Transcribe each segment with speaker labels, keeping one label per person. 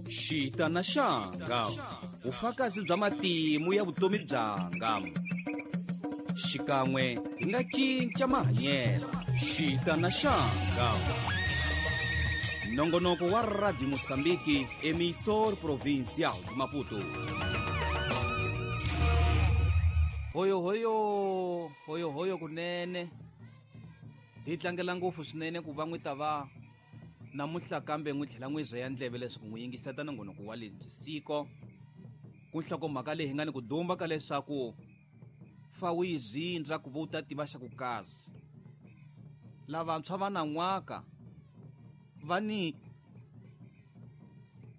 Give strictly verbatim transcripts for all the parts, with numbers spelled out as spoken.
Speaker 1: Xita na xanga, vufakazi bya matimu ya vutomi byanga. Xikan'we hi nga cinca mahanyelo. Xita na xanga. Nongonoko wa Radio Mozambique, emissor provincial de Maputo. Hoyo hoyo, hoyo hoyo kunene. Hi tlangela ngopfu swinene ku va n'wi ta va namuntlha kambe n'wi tlhela n'wi rheya ndleve leswaku n'wi yingiseta nongonoko wa lebyi siko. Ku nhlokomhaka leyi hi nga ni ku dumba ka leswaku fa wu yi zindza ku va u ta tiva xa ku kazi. Lavantshwa va nan'waka va ni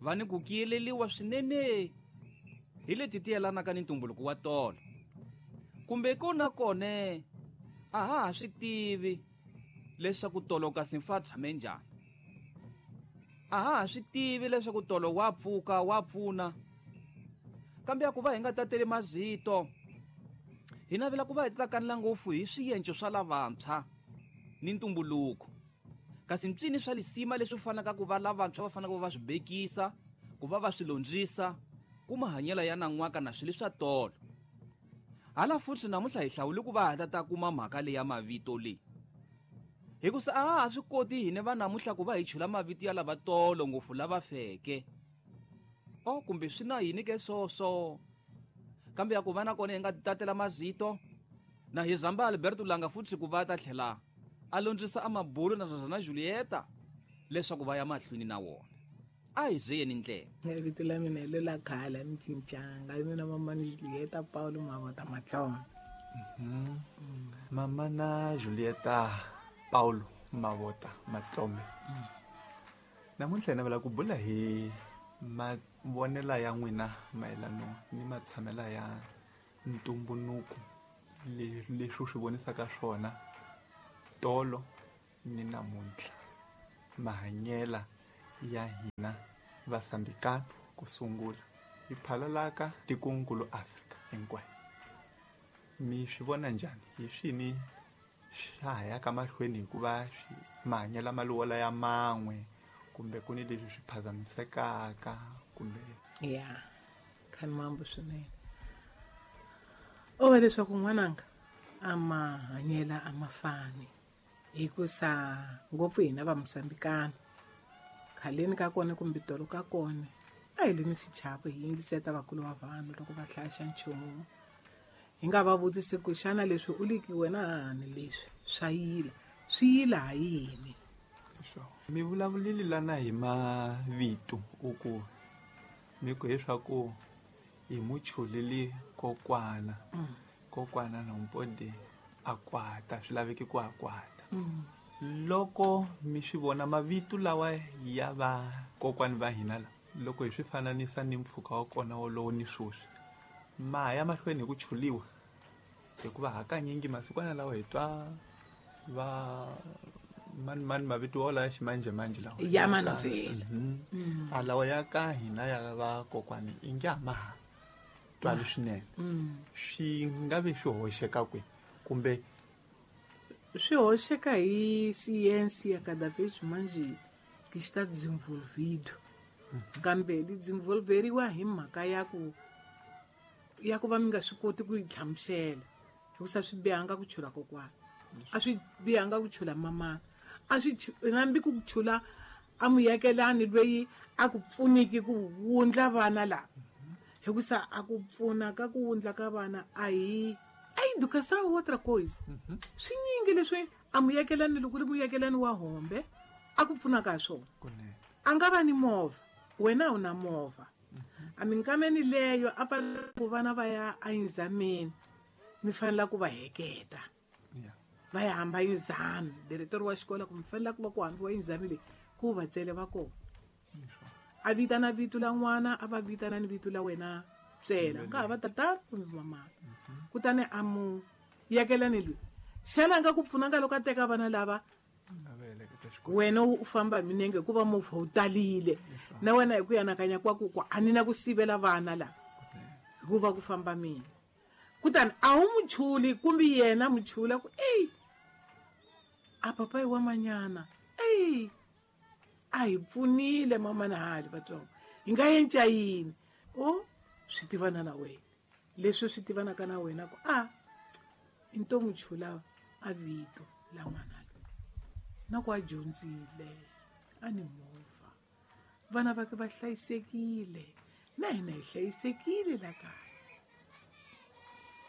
Speaker 1: va ni ku kiyeleliwa swinene hi leti ti yelanaka ni ntumbuluko wa tolo. Kumbe kona kone a ha ha swi tivi leswaku tolo kasi mfa tshame njhani. A ha ha swi tivi leswaku tolo wa pfuka wa pfuna. Kambe a ku va hi nga tateli mazito, hi navela ku va hi tsakanela ngopfu hi swienco swa lavantshwa ni ntumbuluko. Kasi mpyini swa lisima leswi fanaka ku va lavantshwa va fanaka ku va swi bekisa, ku va va swi londzisa, ku mahanyelo ya nan'waka na swilo swa tolo. Hala futhi namuntlha hi hlawule ku va hi ta kuma mhaka leyi ya mavito leyi. Hikusa a ha ha swi koti hina va namuntlha ku va hi chula mavito ya lava tolo ngopfu lava feke. O kumbe swi na yini ke swoswo. Kambe ya ku va na kona hi nga tatela mazito na hi zamba Alberto Langa futhi ku va ta tlhela a londzisa a mabulu na swona Julieta leswaku va ya mahlweni na wona. A hi ziyeni ndlela.
Speaker 2: Vito la mina hi lela khale ni cincanga. Mina mama ni Julieta Paulo Mavota Matlona.
Speaker 3: Mhm. Mama na Julieta Paulo Mavota Matlome. Namuntlha hi navela ku bula hi mavonelo ya n'wina mayelana ni matshamelo ya ntumbuluko leswi swi vonisaka swona tolo ni namuntlha, mahanyela ya hina vasambikana ku sungula hi phalalaka tikonkulu Afrika hinkwayo. Mi swi vona njhani? Hi swini swa ha yaka mahlweni hikuva mahanyelo malowola ya man'we kumbe ku ni leswi swi phazamisekaka kumbe
Speaker 2: ya khani mambo swinene. O va leswaku n'wananga a mahanyela a ma fani hikusa ngopfu hina va Mozambikana khaleni ka kona kumbe tolo ka kona a hi le ni xichavo hi yingiseta vakulu va vanhu loko va hlaya xa nchumu. Hi nga va vutisi ku xana leswi u liki wena hani leswi swa yila swi yila ha yini.
Speaker 3: Mi vulavulile lana hi mavito u ku mi ku leswaku hi muchuleli kokwana kokwana na mpode a kwata swi laveki ku a kwata. Loko mi swi vona mavito lawa ya va kokwani va hina la loko hi swi fananisa ni mpfhuka wa kona wolowo ni sweswi ma ya mahlweni hi ku chuliwa hikuva hakanyingi masikwana lawa hi twa va mani mani mavito wala ya ximanjhemanjhe lawa
Speaker 2: ya manovhela
Speaker 3: a lawa ya ka hina ya va kokwani i nge a ma ha twali swinene. Swi nga vi swi hoxeka kwihi kumbe
Speaker 2: swi hoxeka hi ciência cada vez mais que está desenvolvido. Kambe li desenvolveriwa hi mhaka ya ku ya ku va mi nga swi koti ku yi hlamusela hikusa swi bihanga ku chula kokwana, a swi bihanga ku chula mamana, a swi nambi ku chula a muyakelani loyi a ku pfuniki ku wundla vana lava hikusa a ku pfuna ka ku wundla ka vana a hi a educação outra coisa. Swi nyingi leswi a muyakelani loko ri muyakelani wa hombe a ku pfunaka hi swona. A nga va ni movha, wena u na movha. A minkameni leyo a fanele ku vana va ya exameni mi fanele ku va heketa va ya hamba exam diretor wa xikolo ku mi fanele ku va ku hambiwa exam leyi ku va byele va kona. A vitana vito la n'wana a va vitana ni vito la wena byela nga ha va tatana kumbe mamana. Kutani a mu yakelani loyi xana a nga ku pfunanga loko a teka vana lava wena u famba minenge hikuva movha wu talile na wena hi ku yanakanya kwa ku ku a ni na ku sivela vana lava hikuva ku famba mina. Kutani a wu muchuli kumbe yena muchula ku ey a papai wa manyana ey a hi pfunile mama na hali vatsongo Hi nga yenca yini? O swi tivana na wena. Leswi swi tivanaka na wena ku a i nto n'wi chula a vito la n'wana loyi. Na ku a dyondzile, a ni movha. Vana va va hlayisekile, na hina hi hlayisekile la kaya.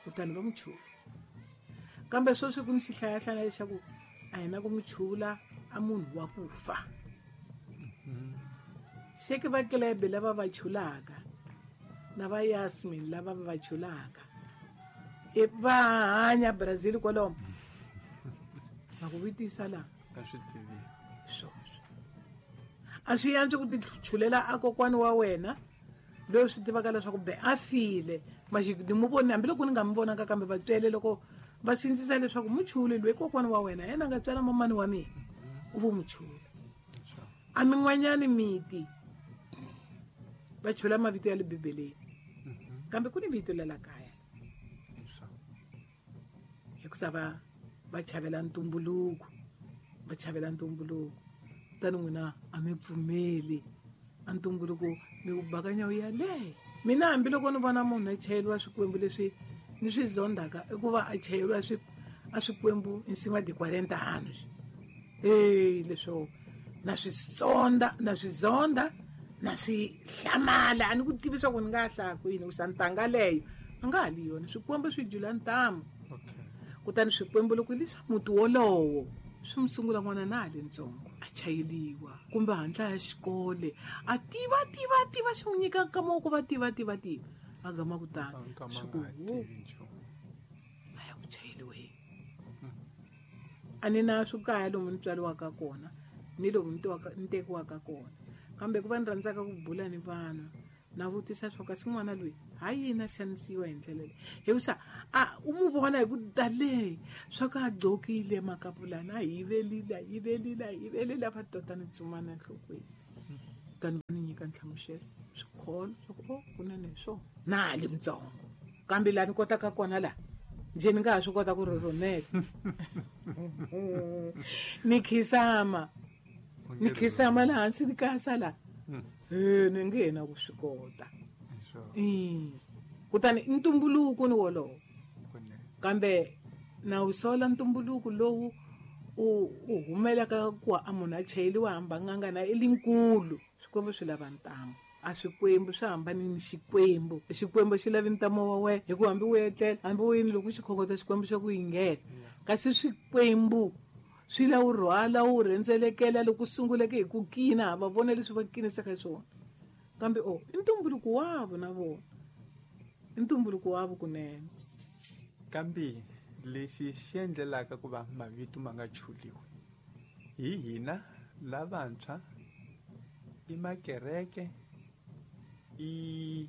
Speaker 2: Kutani va n'wi chula. Kambe sweswi ku ni xihlayahlaya lexaku a hi na ku n'wi chula a munhu wa ku fa. Xeke va Klebe lava va chulaka na va Yasmin lava va chulaka e va hanya Brazil kwalomo. Va ku vutisa la
Speaker 3: a swi tivi
Speaker 2: swoswo. A swi antswi ku tichulela a kokwani wa wena loyi swi tivaka leswaku be a file. Maxi ni mu voni hambiloko ni nga mi vonaka kambe va tswele loko va sindzisa leswaku muchuli loyi kokwani wa wena yena a nga tswala mamani wa mina u vo muchula. A min'wanyani miti va chula mavito ya le Bibeleni, kambe ku ni vito la la kaya hikusa va va chavela ntumbuluko, va chavela ntumbuluko. Kutani n'wina a mi pfumeli a ntumbuluko mi wu bakanya wu ya le. Mina hambiloko ni vona munhu a chayeriwa swikwembu leswi ni swi zondaka i ku va a chayeriwa swi a swikwembu em cima de quarenta anos. Ei, leswo na swi sonda, na swi zonda, na swi hlamala. A ni ku tivi swa ku ni nga hlaya kwini ku sa ntanga leyo a nga ha li yona. Swikwembu swi jula ntamu. Kutani swikwembu loko hi leswa muti wolowo swi mu sungula n'wana na ha le ntsongo a chayeliwa kumbe handla ya xikole a tiva tiva tiva xi n'wi nyika nkama wa ku va tiva tiva tiva a gama kutani swi ku a ya ku chayeliweni. A ni na swikaya lomu ni tswariwaka kona ni lomu ni tiwaka ni tekiwaka kona, kambe ku va ni rhandzaka ku bula ni vanhu na vutisa swa kasi n'wana loyi ha yini a xanisiwa hi ndlela leyi, hikusa a u mu vona hi ku tale swa ku a gqokile makapulani a yivelile a yivelile a yivelile va tota ni tsumana enhlokweni. Kutani va ni nyika nhlamuselo swikholo swa ku o kunene hi swona na ha li mutsongo kambe laha ni kotaka kona laha njhe ni nga ha swi kota ku rhurhumela ni khisama ni khisama laha hansi ni kasa laha e ni nge na ku swi kota. Kutani ntumbuluko ni wolowo, kambe na wu sola ntumbuluko lowu u u humelaka ku a munhu a chayeliwa hamba nganga na i linkulu. Swikwembu swi lava ntamu. A swikwembu swi hambani ni xikwembu. Xikwembu xi lavi ntamu wa wena hikuva hambi u etlela hambi u yini loko xi khongota xikwembu xa ku yingela. Kasi swikwembu swi la wu rhwala wu rhendzelekela loko sunguleke hi ku kina va vona leswi va kinisaka swona. Kambe o i ntumbuluko wavo na vona, i ntumbuluko wavo kunene.
Speaker 3: Kambe lexi xi endlelaka ku va mavito ma nga chuliwi hi hina lavantshwa i makereke i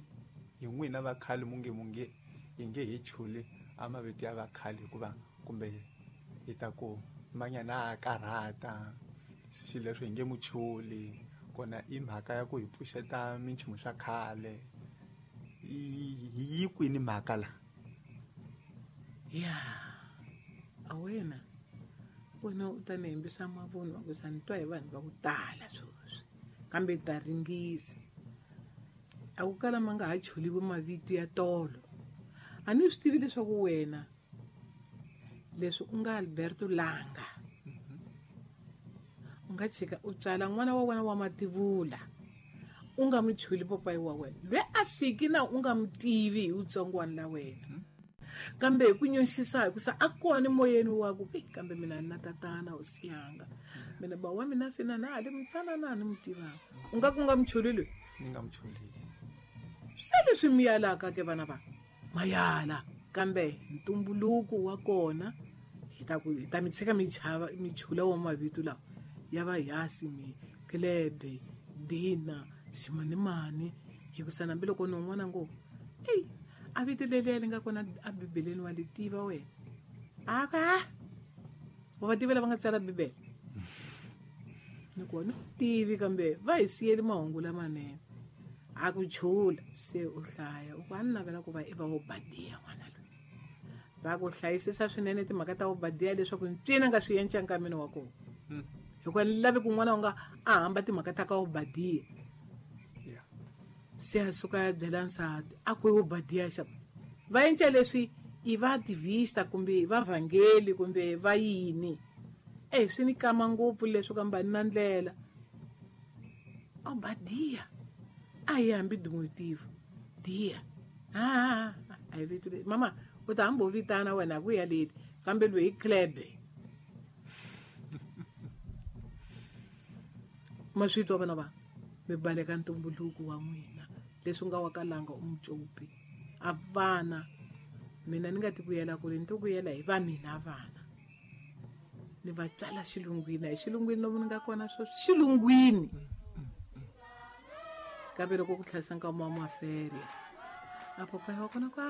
Speaker 3: hi n'wina vakhale munge munge hi nge hi chuli a mavito ya vakhale hikuva kumbe hi ta ku manyana a karhata xilo leswi hi nge muchuli kona i mhaka ya ku hi pfuxeta minchumu swa khale. Yi kwini mhaka la?
Speaker 2: Ya a wena wena u ta ni hembisa mavunwa ku sa ni twa hi vanhu va ku tala sweswi kambe ta ringisa. A ku kala ma nga ha chuliwi mavito ya tolo. A ni swi tivi leswaku wena leswi u nga Alberto Langa u nga chika u tswala n'wana wa wena wa mativula u nga mu chuli papayi wa wena loyi a fiki na u nga mu tivi hi wutsongwana la wena, kambe hi ku nyoxisa hikusa a kona moyeni wa ku kambe mina ni na tatana u siyanga mina ba wa mina fina na ha le mutsanana ni mu tivaka. U nga ku nga mu chuli loyi?
Speaker 3: Ni nga mu chuli.
Speaker 2: Se leswi mi yalaka ke vana va mayala, kambe ntumbuluko wa kona hi ta ku hi ta mi tshika mi chava mi chula wa mavito lawa ya va Yasmin, Klebe, Dina, ximanimani hikusa hambiloko ni un'wana ngo ei a vito leliya li nga kona a Bibeleni wa li tiva wena a ka wa va tiva lava nga tsala Bibele ni ku ni tivi kambe va hi siyeli mahungu lamanene. A ku chula se u hlaya u ku a ni navela ku va i va Obadiya n'wana loyi va ku hlayisisa swinene timhaka ta Obadiya leswaku ncini a nga swi yenca nkameni wa kona hikuva ni lavi ku n'wana u nga a hamba timhaka ta ka Obadiya. Se a suka ya byela nsati a ku Obadiya xa va endla leswi i va activista kumbe va vhangeli kumbe va yini. Eh swi ni kama ngopfu leswi kambe na ndlela. Obadiya a yi hambi diminutive dia ah a yi vito mama u ta hambo vitana wena ku ya leti kambe loyi klebe ma swi twa vana va mi baleka ntumbuluko wa n'wina leswi nga wa kalanga u mucopi a vana mina ni nga ti kuyela kule ni to kuyela hi va mina vana ni va tsala xilungwini hi xilungwini lomu ni nga kona sweswi xilungwini kambe loko ku tlhayisa nkama wa maferia a papayi wa kona ku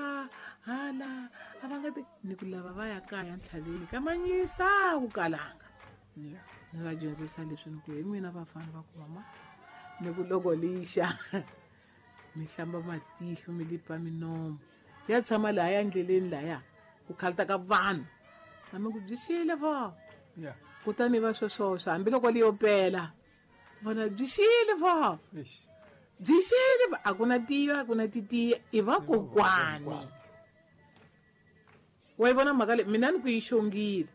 Speaker 2: hala a va nga ti ni ku lava va ya kaya ntlhaveni ka manyisa ku kalanga ni va dyondzisa leswi ni ku hi n'wina vafana va ku mama ni ku loko lixa mi hlamba matihlo mi lipa minomo ya tshama lahaya ndleleni lahaya ku khalta ka vanhu na mi ku byi xile vo kutani va sweswoswo hambiloko li yo pela vona byi xile vo byi xile a ku na tiyo a ku na titiya i va kokwani wa yi vona mhaka leyi mina ni ku yi xongile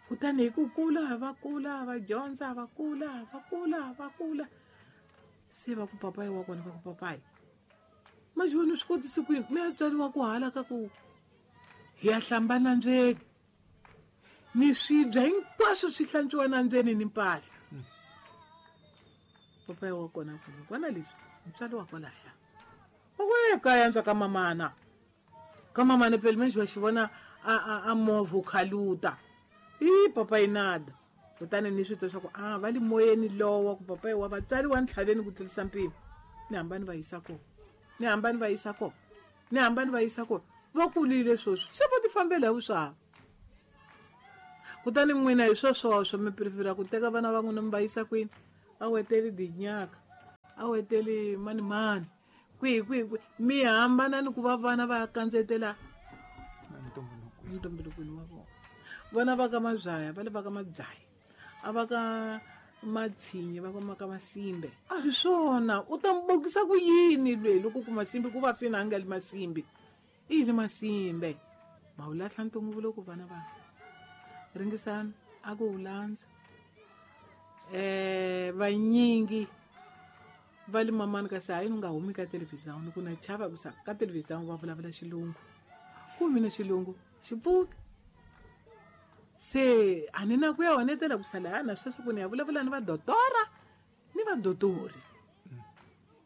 Speaker 2: kutani hi ku kula va kula va dyondza va kula va kula va kula se va ku papayi wa kona va ku papayi manje wena u swi kotisi ku yini mi ya tswariwa ku hala ka ku hi ya hlamba nandzeni ni swibya hinkwaswo swi hlantswiwa nandzeni ni mpahla papayi wa kona ku vona leswi mutswari wa kwalaya u ku e kaya ntswa ka mamana ka mamana phela menje wa xi vona a a a movha u khaluta i papayi nada kutani ni swi twa swa ku a va le moyeni lowa ku papayi wa vatswari wa ntlhaveni ku tlurisa mpimo ni hamba ni va yisa kona ni hamba ni va yisa kona ni hamba ni va yisa kona va kulile sweswi se va ti fambela hi vuswava kutani n'wina hi swoswoswo mi prefera ku teka vana va n'wina mi va yisa kwini a weteli dinyaka a weteli mani mani kwihi kwihi kwihi mi hambana ni ku va vana va ya kandzetela ntumbulukweni wa vona vona va ka mabyaya va le va ka mabyaya a va ka matshinyi va ka ka masimbe a hi swona u ta mi bokisa ku yini lweyi loko ku masimbe ku va fina a nga li masimbe i yini masimbe ma wu lahla ntumbuluko vana va ringisana a ku wu landza eh vanyingi va le mamani kasi hayi ni nga humi ka televhizani ku na chava ku sa ka televhizani va vulavula xilungu ku mina xilungu xi pfuki se a ni na ku ya honetela ku sala na sweswi ku ni ya vulavula ni va dotora ni va dotori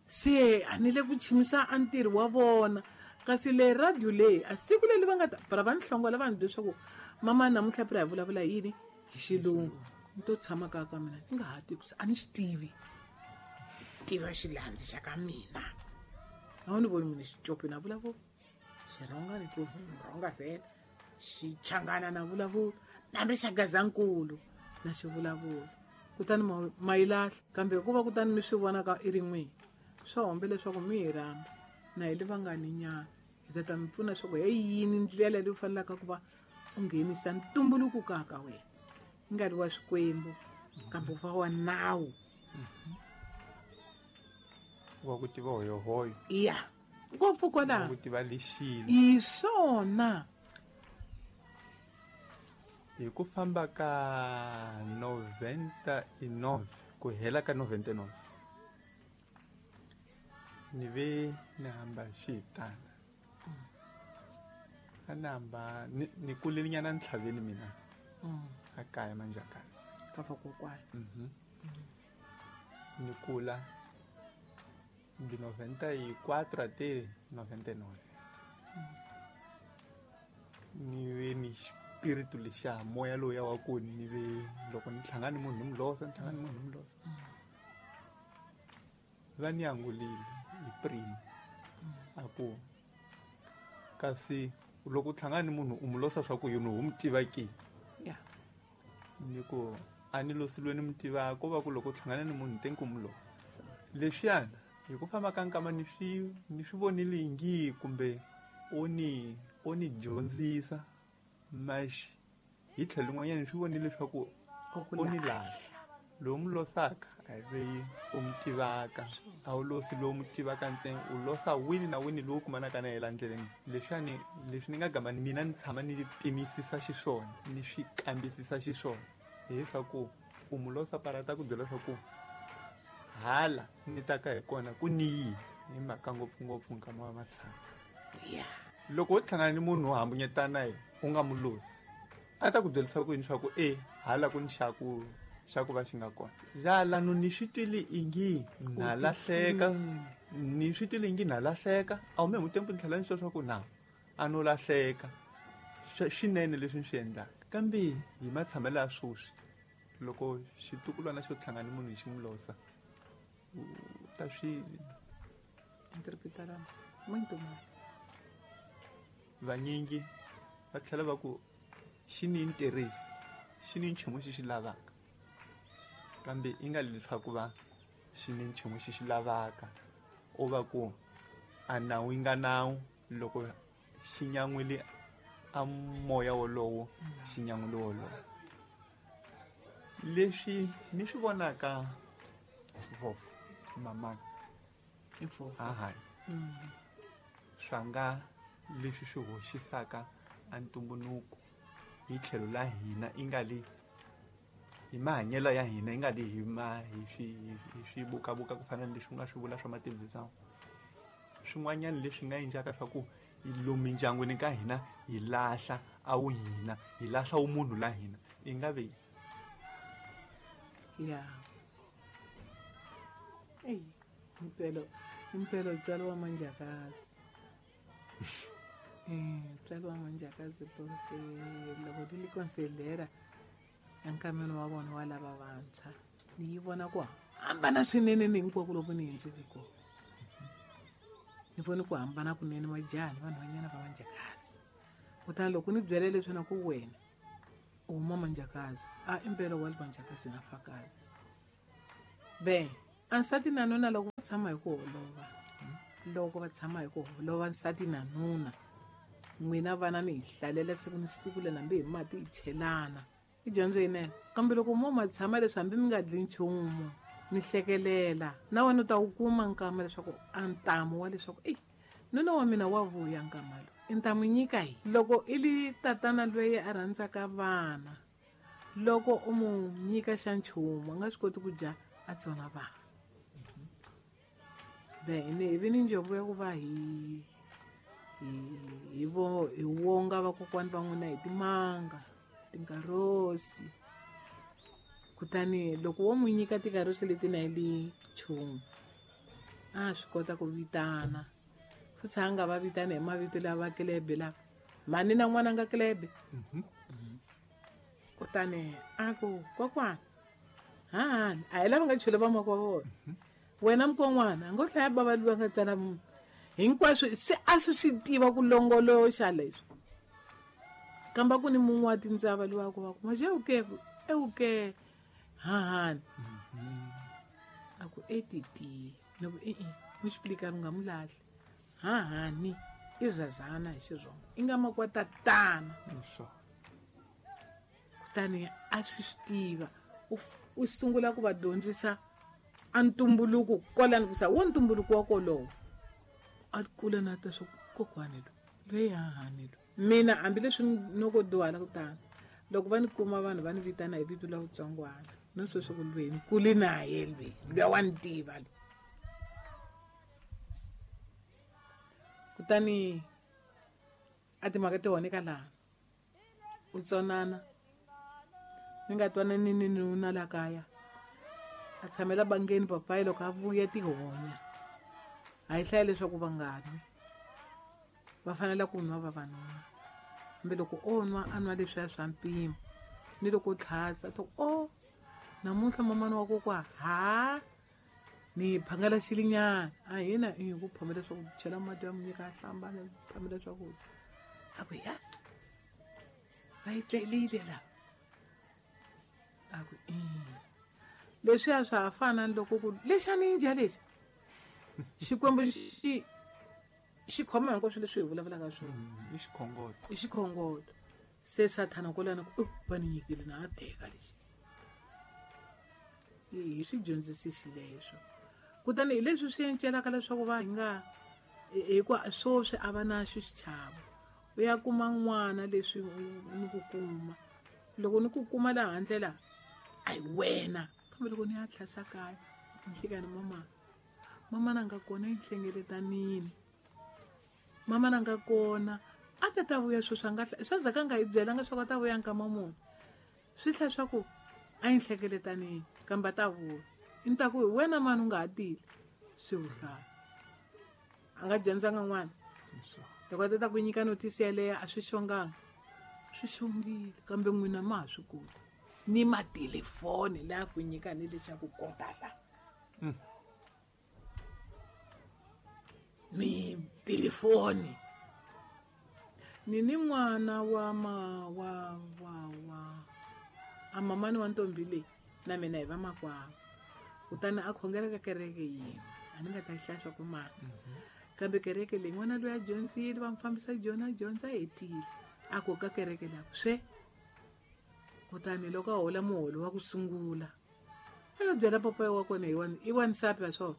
Speaker 2: se a ni le ku chimisa a ntirho wa vona kasi le radio leyi a siku leri va nga ta para va ni hlongola vanhu leswaku mama namuntlha phela hi vulavula yini hi xilungu ni to tshama kaya ka mina ni nga ha tivi a ni swi tivi tiva xilandzi xa ka mina a wu ni voni mina xicopi na vulavula xirhonga ni ku rhonga vhele xichangana na vulavula nambi xa gazankulu na xi vulavula kutani ma yi lahla kambe hikuva kutani mi swi vona ka i ri n'wini swa hombe leswaku mi hi rhamba na hi le vangani nyana hi ta ta mi pfuna leswaku hi yini ndlela leyi u fanelaka ku va u nghenisa ntumbuluko kaya ka wena i nga ri wa swikwembu kambe u va wa nawu
Speaker 3: wa ku tiva hoyohoyo
Speaker 2: ya ngopfu kwalaho
Speaker 3: ku tiva lexilo
Speaker 2: hi swona
Speaker 3: hi ku famba ka noventa e nove ku hela ka noventa e nove ni ve ni hamba xihitana a ni hamba ni ni kulelinyana ntlhaveni mina a kaya manjakazi
Speaker 2: ka vakokwana
Speaker 3: ni kula de noventa e quatro até noventa e nove ni ve ni xipiritu lexa moya lowu ya wa ku ni ve loko ni hlangana ni munhu ni mu losa ni hlangana ni munhu ni mu losa va ni angulile hi primo a ku kasi loko u hlangana ni munhu u mu losa swa ku yini u mu tiva ke ni ku a ni losi loyi ni mu tivaka ko va ku loko u hlangana ni munhu te ku mu losa leswiyana hi ku famba ka nkama ni swi ni swi vonile ngi kumbe o ni o ni dyondzisa maxi hi tlhelo rin'wanyana ni swi vonile leswaku o ni lahla lowu mu losaka A hi loyi u mi tivaka, a wu losi lowu mi tivaka ntsena, u losa wini na wini lowu kumanaka na yena ndleleni. Leswiwani leswi ni nga gama mina ni tshama ni pimisisa xiswona, ni swi kambisisa xiswona, hileswaku u mu losa parata ku byela leswaku hala ni taka hi kona ku ni yini, hi mhaka ngopfungopfu nkama wa matshama.
Speaker 2: Yeah.
Speaker 3: Loko wo hlangana ni munhu wo hambunyetana yena u nga mu losi, a ta ku byerisa ku yini swa ku e hala ku ni xaku xa ku va xi nga kona. Jala no ni swi twile ingi na lahleka, ni swi twile ingi na lahleka, a wu me mutempu ni tlhela ni swa ku na a no lahleka. Swinene leswi ni swi endlaka. Kambe hi matshamelo ya sweswi, loko xitukulwana xo hlangana ni munhu hi xi n'wi losa, u ta swi
Speaker 2: interpretar muito mal.
Speaker 3: Vanyingi va tlhela va ku xi ni interest, xi ni nchumu xi xi lavaka. Kambe i nga leswaku va xi ni nchumu xi xi lavaka, u va ku a nawu yi nga nawu, loko xi nyan'wile a moya wolowo, xi nyan'wile wolowo. Leswi ni swi vonaka vovo mamana
Speaker 2: I vovo.
Speaker 3: Ahani. Swa nga leswi swi hoxisaka a ntumbuluko hi tlhelo la hina, i nga li hi mahanyelo ya hina, i nga li hi ma hi swi hi swi bukabuka ku fana na leswi u nga swi vula swa matelevhizani. Swin'wanyana leswi nga endlaka swa ku lomu mindyangwini ka hina hi lahla a wu hina, hi lahla wu munhu la hina, i nga ve
Speaker 2: Yeah. Ey, impela impela utswalo wa manjakazi. Eh, utswalo wa manjakazi porque loko di li considera enkameni wa vona wa lava vantshwa, ni yi vona ku hambana swinene ni hinkwako loko ni hundzeke kona. Ni vone ku hambana kunene majaha ni vanhwanyana va manjakazi. Kutani loko ni byele leswi na ku wena u huma manjakazi, a impela wa manjakazi na fakazi. Be, a nsati na nuna loko va tshama hi ku holova, loko va tshama hi ku holova nsati na nuna, n'wina vana mi hi hlalela siku ni siku le hambi hi mati hi chelana. I dyondzo yinene. Kambe loko mo ma tshama leswi hambi mi nga dli nchumu, mi hlekelela, na wena u ta wu kuma nkama leswaku a ntamu wa leswaku eyi nuna wa mina wa vuya nkama lowu, i ta n'wi nyika hi. Loko i li tatana loyi a rhandzaka vana, loko u mu nyika xa nchumu a nga swi koti ku dya a tsona vana. Then hi vi ni njhovo ya ku va hi hi hi vo hi wonga vakokwani va n'wina hi timanga, tinkarosi. Kutani loko wo n'wi nyika tikarosi leti na li nchumu, a swi kota ku vitana. Futhi a nga va vitana hi mavito lava kelebe lava. Mhani na n'wana nga kelebe. Kutani a ku kokwana, hahani, a hi lava nga chule va makwa vona. Wena mukon'wana, a ngo hlaya bava loyi a nga tswala munhu. Hinkwaswo se a swi swi tiva ku longoloxa leswi. Kamba ku ni mun'we wa tindzava loyi a ku va ku, maje uke, e uke, hahani. A ku e titi, ni ku e-e, mu explicar u nga mu lahli. Hahani, i zazana hi Xitsonga. I nga makwa tatana. Kutani a swi swi tiva. U u sungula ku va dyondzisa a ntumbuluko kwalani ku sa wo ntumbuluko wa kolowo. A kula na ta swa kokwani lo, loyi hahani lo. Mina hambileswi noko dyuhala ku tani, loko va ni kuma vanhu va ni vitana hi vito la vutsongwana, no sweswo ku lweni ni kule na ye lweni, luya wa ni tiva lo. Kutani a timhaka ti honeka laha, u tsonana mi nga twanani ni nuna la kaya, a tshamela bangeni papayi loko a vuya tihonya. A hi hlaya leswaku va nga nwi, va fanele ku nwa vavanuna. Kambe loko o nwa a nwa leswiya swa mpimo, ni loko o tlhatsa to o namuntlha mamana wa kokwa ha ni phangela xilinyana, a hina i ku phamela swakudya, chela mati ya munyika a hlamba ni phamela swakudya. A ku ya va yi tlelile la. A ku i leswiya swa ha fana ni loko ku lexani njhe lexi Xikwembu xi xi khoma hinkwaswo leswi hi vulavulaka swona.
Speaker 3: I xikhongoto.
Speaker 2: I xikhongoto. Se Sathana kwalano ku va ni nyikile na a teka lexi. Hi swi dyondzisi xileswo. Kutani hi leswi swi encelaka leswaku va hi nga hikuva sweswi a va na xo xichavo. U ya kuma n'wana leswi ni ku kuma. Loko ni ku kuma laha handle la a hi wena. Kambe loko ni ya tlhasa kaya ni fika ni mama. Mama na nga kona enhlengeletanini. Mama na nga kona a ta ta vuya sweswi a nga swa zaka nga hi byelanga swa ku a ta vuya nkama muni. Swi tlhela swa ku a yi nhlengeletanini kambe a ta vuya. Ni ta ku hi wena mani u nga ha tile swi wu hlaya. A nga dyondzanga n'wana. Loko a ta ta ku nyika notice yaleyo a swi xonganga. Swi xongile kambe n'wina ma ha swi koti. Ni matelefoni laha ku nyika ni lexaku kota la. Mi telefoni. Ni ni n'wana wa ma wa wa wa a mamani wa ntombi leyi na mina hi va makwavo. Kutani a khongela ka kereke yin'we. A ni nga ta hlaya swa ku mani. Kambe kereke leyi n'wana loyi a dyondzile va n'wi fambisa dyona a dyondza a hetile. A ku ka kereke la swe. Kutani loko a hola muholo wa ku sungula a yo byela papa wa kona hi wa i wansati wa swona.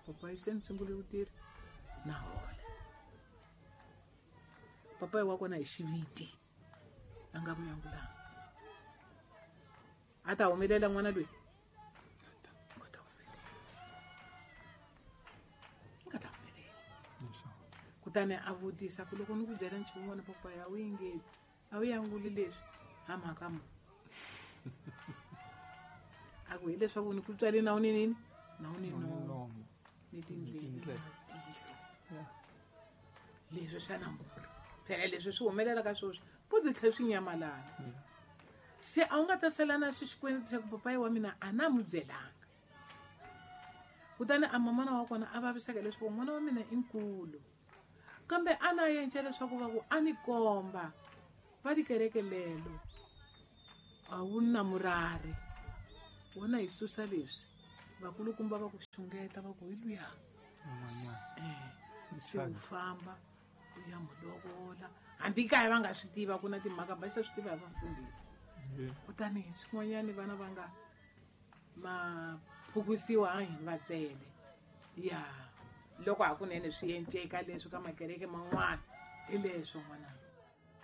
Speaker 2: Papa se ni sungule ku tirha na hola. Papa wa kona hi xiviti a nga n'wi angulanga. A ta humelela n'wana loyi. A ta humelela. A ta humelela. Kutani a vutisa ku loko ni ku byela nchumu n'wana papa ya wu yingeli a wu yanguli leswi ha mhaka mo. A ku hileswaku ni ku tswale na wu ni nini na wu ni nomo ni tindleve tihlo. Leswi swa namuntlha phela leswi swi humelela ka sweswi po byi tlhela swi nyamalala. Se a wu nga ta sala na xikweleti xa ku papayi wa mina a na n'wi byelanga. Kutani a mamana wa kona a vaviseka leswaku n'wana wa mina i nkulu. Kambe a na yenca leswaku va ku a ni komba va tikereke lelo a wu na murari. Wona hi susa leswi vakulukumba va ku xungeta va ku hi luya. Eh, se u famba u ya n'wi lovola. Hambi kaya va nga swi tiva ku na timhaka va xa swi tiva hi vafundhisi. Kutani swin'wanyani vana va nga ma phukusiwa a hi va byele. Ya loko hakunene swi enceka leswi ka makereke man'wana hi leswo n'wananga.